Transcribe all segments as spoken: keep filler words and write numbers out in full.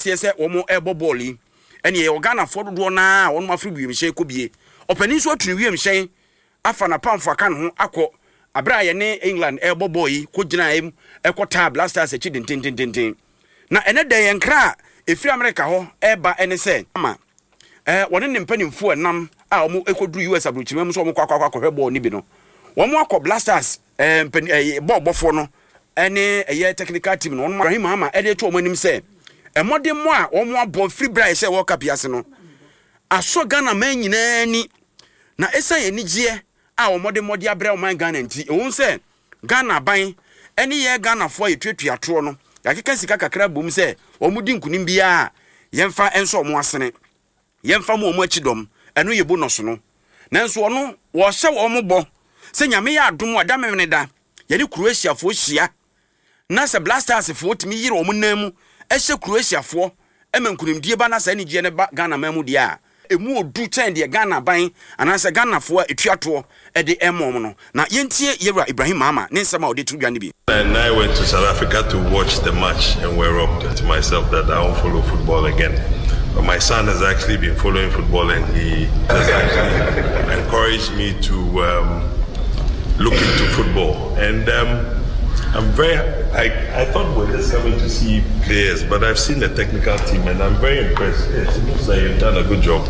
Aseɛ sɛ wɔn ɛrebɔ bɔɔl yi, ɛne yɛwɔ Ghanafoɔ dodoɔ naa a wɔn afiri wiemhyɛn kɔ bie. Ɔpanin nso atu ne wiemhyɛn afa n'apamfo aka ne ho akɔ abere a yɛne England ɛrebɔ bɔɔl yi, kɔ gyina mu ɛkɔ taa Black Stars akyi dentententen. Na ɛnɛ dɛ yɛn kra a ɛfiri Amerika hɔ ɛreba ɛne sɛ ama ɛɛ wɔne ne mpanimfoɔ ɛnam a wɔn ɛkɔduru U S aburokyima mu sɛ wɔn kɔ akɔ akɔ akɔhwɛ bɔɔl no bi no, wɔn akɔ Black Stars ɛɛ mpanin ɛɛ bɔɔl bɔfoɔ no ɛne ɛyɛ technical team no. Wɔn Ibrahim Mahama ɛde to wɔn anim sɛ ɛmɔden mo a wɔn abɔ firi bere a yɛhyɛ World Cup yi ase no asɔ Ghana man nyinaa ani, na ɛsan anigyeɛ a wɔn de mmɔde abrɛ ɔman Ghana nti, ɛwɔ sɛ Ghana aban ɛne yɛ Ghanafoɔ a yɛtuatua toɔ no yɛakeka sika kakra bom sɛ wɔn di nkunim biara yɛmfa nso wɔn asene, yɛmfa mu wɔn akyi dɔm. Ɛno yɛ bonus no, nanso ɔno wɔhyɛ wɔn bɔ sɛ Nyame yɛ adom a, da memene da yɛne Croatiafoɔ hyia na sɛ Black Stars foɔ tumi yere wɔn nan mu ɛhyɛ Croatiafoɔ ɛma nkunimdie ba na saa anigyeɛ no ba Ghana man mu deɛ a, emu odu kyɛn deɛ Ghana ban anaasɛ Ghanafoɔ a ɛtua toɔ ɛde ɛma wɔn no. Na yɛntie yɛwura Ibrahim Mahama ne nsɛm a ɔde to dwa no bi. And I went to South Africa to watch the match and were robbed to myself that I won't follow football again. But my son has actually been following football and he has actually encouraged me to um, look into football. And um, I'm very, I, I thought we're just coming to see players, but I've seen the technical team and I'm very impressed. Yes, it looks like you've done a good job.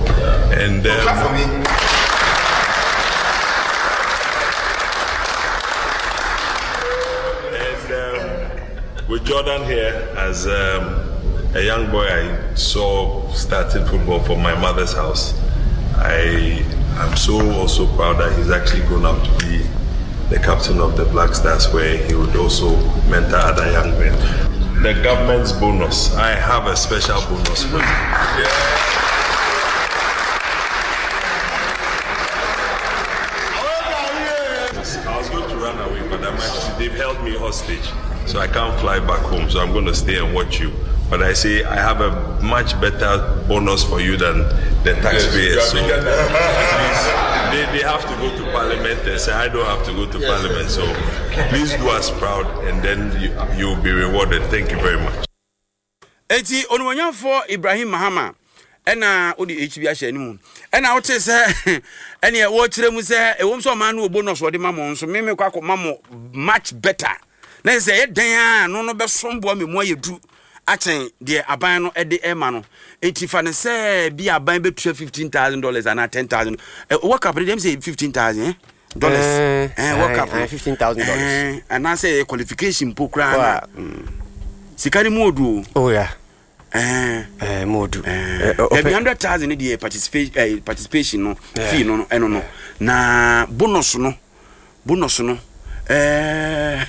And um, Clap for me. And um, with Jordan here, as um, a young boy I saw starting football from my mother's house, I am so also proud that he's actually grown up to be the captain of the Black Stars, where he would also mentor other young men. The government's bonus, I have a special bonus for you. Yeah. I was going to run away, but I'm actually, they've held me hostage, so I can't fly back home. So I'm going to stay and watch you. But I say I have a much better bonus for you than the taxpayers. Yes, So you are bigger than- at least they, they have to go to parliament and say I don't have to go to parliament. So please do us proud, and then you, you'll be rewarded. Thank you very much. Eti onimonyamfoɔ Ibrahim Mahama ɛna wode H B ahyɛ anim, ɛna wote sɛ ɛneɛ wɔkyerɛ mu sɛ ɛwom sɛ ɔma no wɔ bonus wɔde ma mo nso, meme kɔ akɔma mo much better, na sɛ ɛyɛ dan a no no bɛsom boa me mu ayɛ du akyɛn deɛ aban no ɛde ɛma no. Enti fa ne sɛ bi aban bɛtua fifteen thousand dollars anaa ten thousand. World Cup no deɛ m sɛ fifteen thousand eh? dollars. Eh, eh, World Cup eh, no fifteen thousand dollars. Eh, anaasɛ ɛyɛ qualification mpo koraa na Mm. sika no mu odu o. Oh yeah. Eh. Eh, mu odu. Eh, Dabi, hundred thousand ne deɛ participation eh, participation no Yeah. fee no no ɛno no, na bonus no bonus no ɛɛ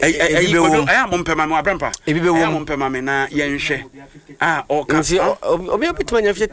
ɛyi Ebi bɛ wom. ɛyɛ a mo mpɛ ma mi wabrampa Ebi bɛ ɛyɛ a wom. mo mpɛ ma mi na yɛnhwɛ a ɔka. Nti obi obi obetumi anya fifty